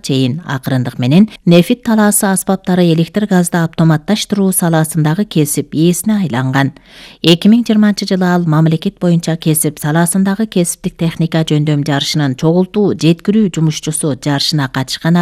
чейин акырындык менен нефит талаасы аспаптары электр газды автоматташтыруу саласындагы кесип ээсине айланган. 2020 ал мамлекет боюнча кесип саласындагы кесиптик техника жөндөм жарышынын чогултуу жеткирүү жумушчусу жарышына катышкан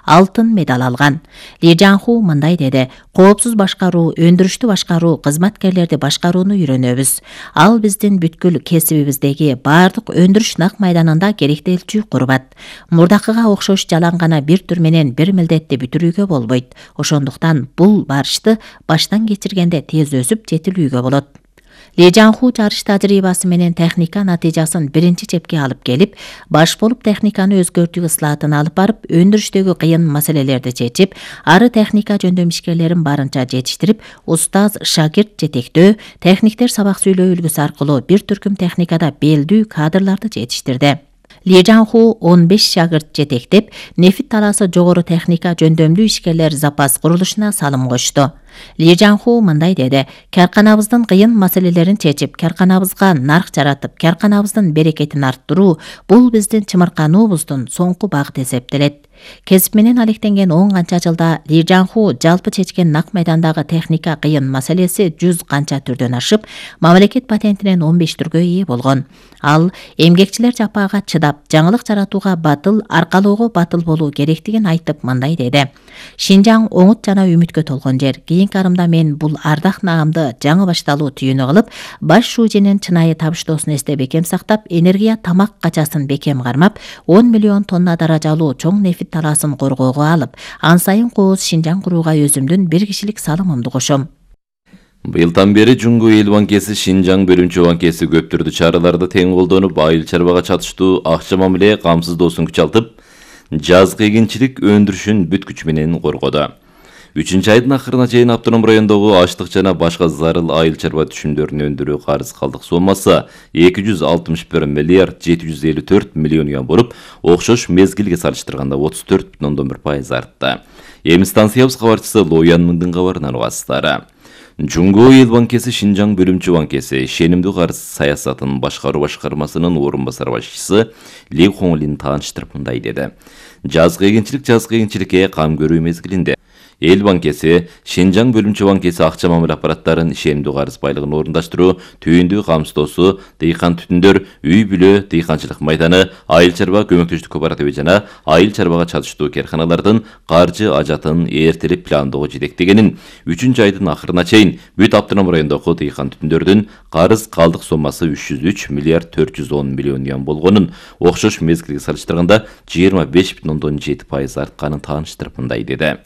алтын медаль алган. Ли Жанху мындай деди: коопсуз башкаруу, өндүрүштү башкаруу, кызматкерлерди башкарууну үйрөнөбүз. Ал биздин бүткүл кесибибиздеги баардык өндүрүш нак майданында керектелчү курбат. Мурдакыга окшош жалаң гана бир түр менен бир милдетти бүтүрүүгө болбойт. Ошондуктан бул барышты баштан кечиргенде тез өсүп жетилүүгө болот. Ли Жанху жарыш тажрыйбасы менен техника натыйжасын биринчи чепке алып келип, баш болуп техниканы өзгөртүү ыслаатын алып барып, өндүрүштөгү кыйын маселелерди чечип, ары техника жөндөм ишкерлерин барынча жетиштирип, устаз шакирт жетектөө, техниктер сабак сүйлөө үлгүсү аркылуу бир түркүм техникада белдүү кадрларды жетиштирди. Ли Жанху 15 шагырт жетектеп, нефит талаасы жогору техника жөндөмдүү ишкерлер запас курулушуна салым кошту. Ли Жанху мындай деди: карканабыздын кыйын маселелерин чечип, карканабызга нарк жаратып, карканабыздын берекетин арттыруу бул биздин чымыркануубуздун соңку багыты эсептелет. Кесип менен алектенген 10 канча жылда Ли Жанху жалпы чечкен нак майдандагы техника кыйын маселеси 100 канча түрдөн ашып, мамлекет патентинен 15 түргө ээ болгон. Ал эмгекчилер жапаага чыдап, жаңылык жаратууга батыл, аркалоого батыл болуу керектигин айтып мындай деди: Шинжаң оңут жана үмүткө толгон жер. Кийинки арымда мен бул ардак наамды жаңы башталуу түйүнү кылып, баш шуженин чынайы табыштоосун эсте бекем сактап, энергия тамак качасын бекем кармап, 10 миллион тонна даражалуу чоң нефит талаасын коргоого алып, ан сайын кооз Шинжаң курууга өзүмдүн бир кишилик салымымды кошом. Быйылдан бери Жуңгу эл банкеси Шинжаң бөлүмчө банкеси көп түрдүү чараларды тең колдонуп, айыл чарбага чатыштуу акча мамиле камсыздоосун күчалтып, жазгы эгинчилик өндүрүшүн бүт күч менен коргоду. 3 айдын акырына чейин автоном райондогу ачлык жана башка зарыл айыл чарба түшүмдөрүн өндүрүү карыз калдык соммасы 261 миллиард 754 миллион юан болуп, окшош мезгилге салыштырганда 34,1% артты. Эми станциябыз кабарчысы Лоян Мыңдын кабарынан угасыздар. Жуңгу эл банкеси Шинжаң бөлүмчө банкеси ишенимдүү карыз саясатын башкаруу башкармасынын орун басар башчысы Ли Хонглин тааныштырып мындай деди: жазгы эгинчиликке кам көрүү мезгилинде эл банкеси Шинжаң бөлүмчө банкеси акча мамиле аппараттарын ишенимдүү карыз байлыгын орундаштыруу, түйүндүү камсыздоосу, дыйкан түтүндөр, үй бүлө, дыйканчылык майданы, айыл чарба көмөктөштүк кооперативи жана айыл чарбага чатыштуу карканалардын каржы ажатын эртелеп пландоого жетектегенин, 3 айдын акырына чейин бүт автоном райондогу дыйкан түтүндөрдүн карыз калдык соммасы 303 миллиард 410 миллион юан болгонун, окшош мезгилге салыштырганда 25,7% артканын тааныштырып мындай деди: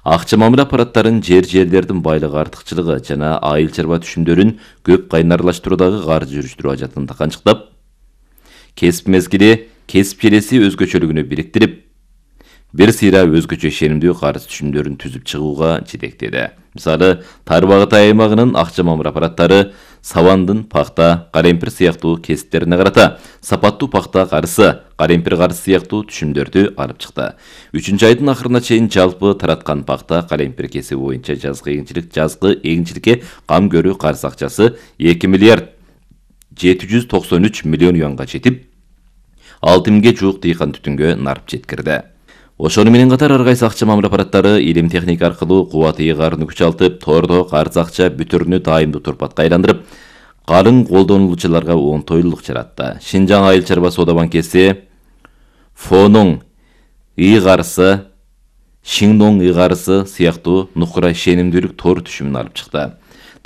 акча мамиле аппараттарын жерлердин байлыгы артыкчылыгы жана айыл чарба түшүмдөрүн көп кайнарлаштыруудагы каржы жүрүштүрүү ажатын таканчыктап, кесип мезгили, кесип желеси өзгөчөлүгүнө бириктирип, бир сыйра өзгөчө ишенимдүү карыз түшүмдөрүн түзүп чыгууга жетектеди. Мисалы, тар багыт аймагынын акча мамиле аппараттары сабандын пахта, каремпир сыяктуу кесиптерине карата сапаттуу пахта карысы, каремпир карысы сыяктуу түшүмдөрдү алып чыкты. 3 айдын акырына чейин жалпы тараткан пахта, каремпир кесиби боюнча жазгы эгинчиликке кам көрүү карыз акчасы 2 миллиард 793 миллион юанга жетип, 6 миңге жуук дыйкан түтүнгө нарып жеткирди. Ошону менен катар ар кайсы акча мамиле аппараттары илим техника аркылуу кубат ыйгарын күчалтып, тордо карыз акча бүтүрүнү дайымдуу турпатка айландырып, калың колдонулуучуларга оңтойлуулук жаратты. Шинжаң айыл чарба соода банкеси Фонуң ыйгарысы, Шиндоң ыйгарысы сыяктуу нукура ишенимдүүлүк тор түшүмүн алып чыкты.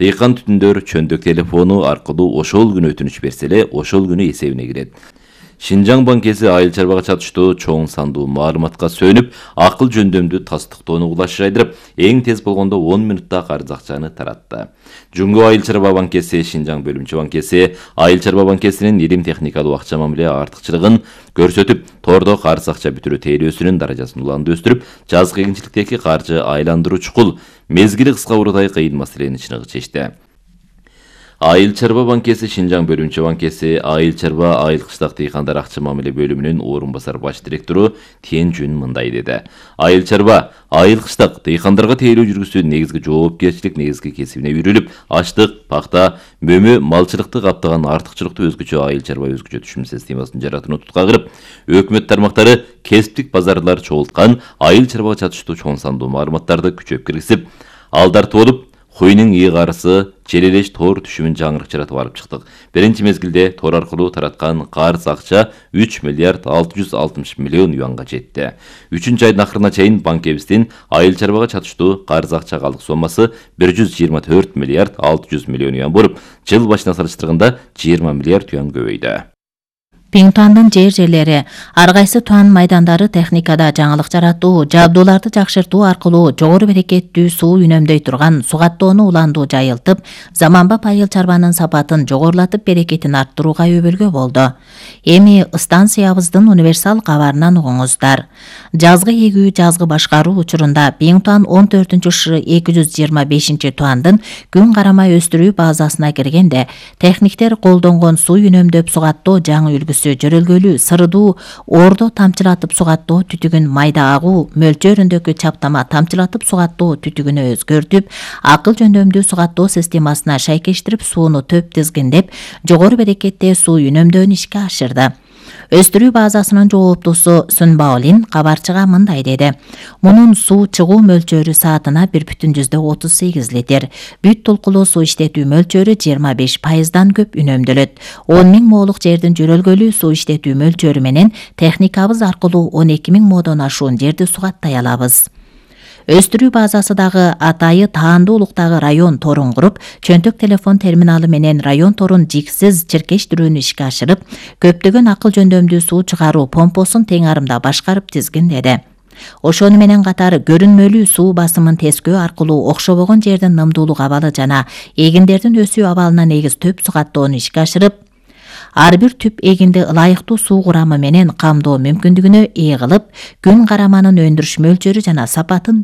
Дыйкан түтүндөр чөндүк телефону аркылуу ошол күнү өтүнүч берсе эле, ошол күнү эсебине кирет. Шинжаң банкеси айыл чарбага чатыштуу чоң сандуу маалыматка сөнүп, акыл жөндөмдүү тастыктоону улаш жайдырып, эң тез болгондо 10 минутта карыз акчаны таратты. Жуңгу айыл чарба банкеси Шинжаң бөлүмчө банкеси айыл чарба банкесинин илим техникалуу акча мамиле артыкчылыгын көрсөтүп, тордо карыз акча бүтүрүү тейлөөсүнүн даражасын уланды өстүрүп, жазгы эгинчиликтеги каржы айландыруу чукул, мезгили кыска уруудай кыйын маселени чыныгы чечти. Айыл чарба банкеси Шинжаң бөлүмчө банкеси Айыл чарба айыл кыштак дыйкандар акча мамиле бөлүмүнүн орун басар баш директору Тен Жүн мындай деди. Айыл чарба айыл кыштак дыйкандарга тейлөө жүргүзүү негизги жоопкерчилик негизги кесибине үйрүлүп, ачлык, пахта, мөмө, малчылыкты каптаган артыкчылыкты өзгөчө айыл чарба өзгөчө түшүм системасын жаратууну тутка кырып, өкмөт тармактары кесиптик базарлар чогулткан айыл чарбага чатыштуу чоң сандуу маалыматтарды күчөп киргизип, алдартып болуп, Коюнун ыйгарысы, желелеш тоор түшүмүн жаңырык жаратып алып чыктык. Биринчи мезгилде тоор аркылуу тараткан карыз акча 3 миллиард 660 миллион юанга жетти. 3-чү айдын акырына чейин банкебиздин айыл чарбага чатыштуу карыз акча калдык соммасы 124 миллиард 600 миллион юан болуп, жыл башына салыштырганда 20 миллиард юан көбөйдү. Пиңтуандын жерлери ар кайсы туан майдандары техникада жаңылык жаратуу, жабдууларды жакшыртуу аркылуу жогору берекеттүү суу үнөмдөй турган сугаттоону уландуу жайылтып, заманбап айыл чарбанын сапатын жогорулатып берекетин арттырууга өбөлгө болду. Эми станциябыздын универсал кабарынан угуңуздар. Жазгы эгүү, жазгы башкаруу учурунда Пиңтуан 14-225 туандын күн карамай өстүрүү базасына киргенде, техниктер колдонгон суу үнөмдөп сугаттоо жаңы үлгүсү жөрөлгөлүү, сырдуу, ордо тамчылатып сугаттоо түтүгүн майда агуу мөлчөрүндөгү чаптама тамчылатып сугаттоо түтүгүнө өзгөртүп, акыл жөндөмдүү сугаттоо системасына шайкештирип сууну төп тизгиндеп, жогору берекетте суу үнөмдөөнү ишке ашырды. Өстүрүү базасынын жооптусу Сүнбаолин кабарчыга мындай деди. Мунун суу чыгуу мөлчөрү саатына 1,38 литр. Бүт толкулуу суу иштетүү мөлчөрү 25%дан көп үнөмдөлөт. 10 000 моолук жердин жөрөлгөлүү суу иштетүү мөлчөрү менен техникабыз аркылуу 12 000 моодон ашуун жерди сугаттай алабыз. Өстүрүү базасы дагы атайы таандуулуктагы район торун куруп, чөнтөк телефон терминалы менен район торун жиксиз чиркештирүүнү ишке ашырып, көптөгөн акыл жөндөмдүү суу чыгаруу помпосун тең арымда башкарып тизгиндеди. Ошону менен катары көрүнмөлүү суу басымын тескөө аркылуу окшобогон жердин нымдуулук абалы жана эгиндердин өсүү абалына негиз төп сугаттоону ишке ашырып, ар бир түп эгинди ылайыктуу суу курамы менен камдоо мүмкүндүгүнө ээ кылып, күн караманын өндүрүш мөлчөрү жана сапатын